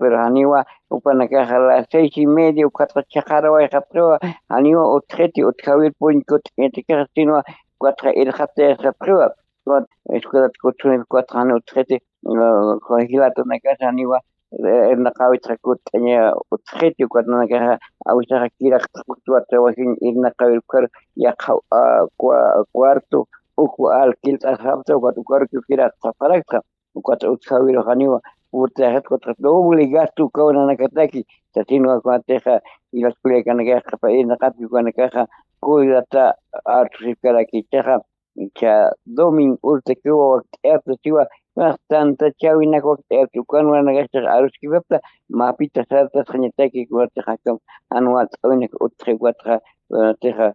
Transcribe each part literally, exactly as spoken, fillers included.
pero janiwa upanakaxa las seis y media ukatxa chhaqarawayxapxiwa, janiwa utxiti utjawir puñkut'ñatikaxa sinwa ukatxa irxatayasxapxiwa. Escuelat kutsunip ukatxa jani utxiti jilatunakasa janiwa irnaqawitxa kut'aña utxiti ukatunakaxa awisaxa kiraqtxa kutsuwatxa wajiñ irnaqawir ukhar yaqha cuarto uku alquilt'asxapta ukat ukarukiw kiraqtxapxarakta. Ukat utjawiru janiwa purtayaxit ukatxa doble gasto ukaw nanakataki. Sasinwa kunatixa jilat kullakanakaxa qhapa irnaqapi ukanakaxa kullata artusipkaraki ichaxa icha domingo urtakiwa wakt'ayapta siwa. Tanta chawinak wakt'ayapta ukan waranakaxtax aruskipapta mapita sartasxañataki kunatixa akam jan walt'awinak utxipkatxa kunatixa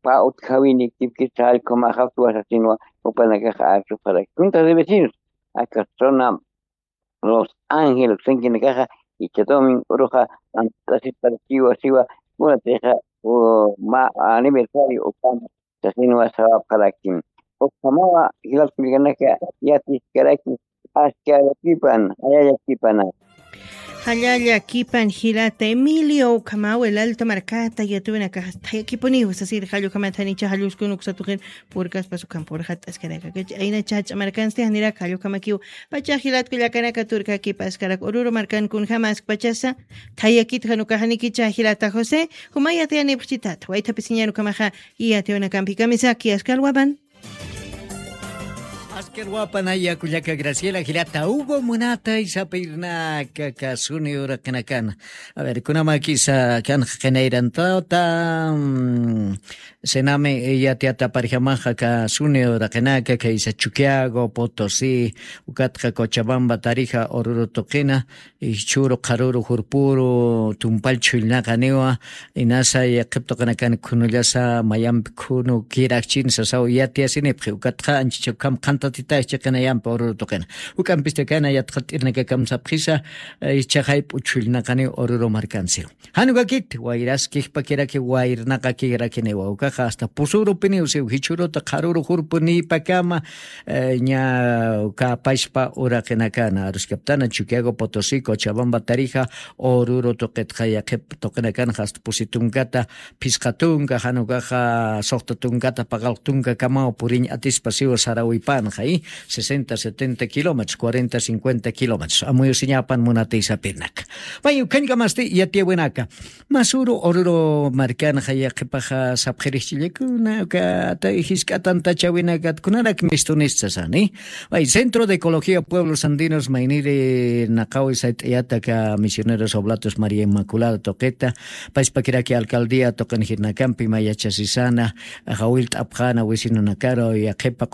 pa utjawini kipkista jallkhumaxapta wasasinwa. Upanakaxa arsuparaki kuntax de vecinos aka zona los ángeles sinkinakaxa icha domingo uruxa ant'asiparakiwa siwa. Kunatixa ma aniversario ukama sasinwa sawapxarakim. Ukhamawa jilat kullakanaka yatiskaraki askallakipan jallallakipanaka. Jallallakipan jilata Emilio ukhamawa el alto markata yatuyunakaxa thayakipuniw sasir jallukhamat janicha jalluskun uksatuqin purkaspas ukham purxat askaraka kach ayna chach'a markansti janirak jallukamakiw. Pachax jilat kullakanaka turkakipa askarak ururu markan kunjama askpachasa thayakit janukaxanikicha jilata josé. Jumay yatiyanipxchitat waythapisiñan ukhamaxa yatiyunakampikamisaki askalwapan. Askarwapan aya kullaka graciela jilata hugo munata isapirnaka kasuni uraqinakana. A ver kunamakisa kanxa qinayrantawta senami yatiyataparjamaxa kasuni uraqinaka kaysa chuquiago potosí ukatqa cochabamba tarija ururu tuqina. Jichhüru qharüru jurpüru tumpall chhullnaqaniwa. Inasa yaqhip tuqinakan khunullasa mayampi khunu kirakchin sasaw yatiyasinipxi ukatqa anchicha ukham qhantatitax chiqinayampi ururu tuqina. Juk'ampistakana yatqat'irnakakamsapxisa. Ichhaxayp'u chhullnaqaniw ururu markansiw. Jan ukakit wayraskixpakiraki wayrnaqakirakiniwa ukaxa asta pusurupiniw siw jichhüruta qharüru jurpunïpakama. Ña kapashpa uraqinakana aruskaptana chuquiago potosí cochabamba tarija ururu tuqitxa yaqhip tuqinakanxa asta pusi tunkata phisqa tunka jan ukaxa suxta tunkata paqalq tunkakamaw puriñ atispa siwa sarawipanxa. Sesenta setenta kilómetros cuarenta cincuenta kilómetros amuyusiñapan munatiysapirnaka. May ukhañkamasti yatiyawinaka masuru ururu markanxa yaqhipaxa sapxirixchillakuna uka jisk'atantachawinakat kunarak mistunista sani. May centro de ecología pueblos andinos mayniri naqawi sayt'ayata aka misioneros oblatos maría inmaculada tuqita pachpakiraki alcaldía tuqinjirnakampi may yachasisana jawillt'apxana wisinunakaru yaqhipa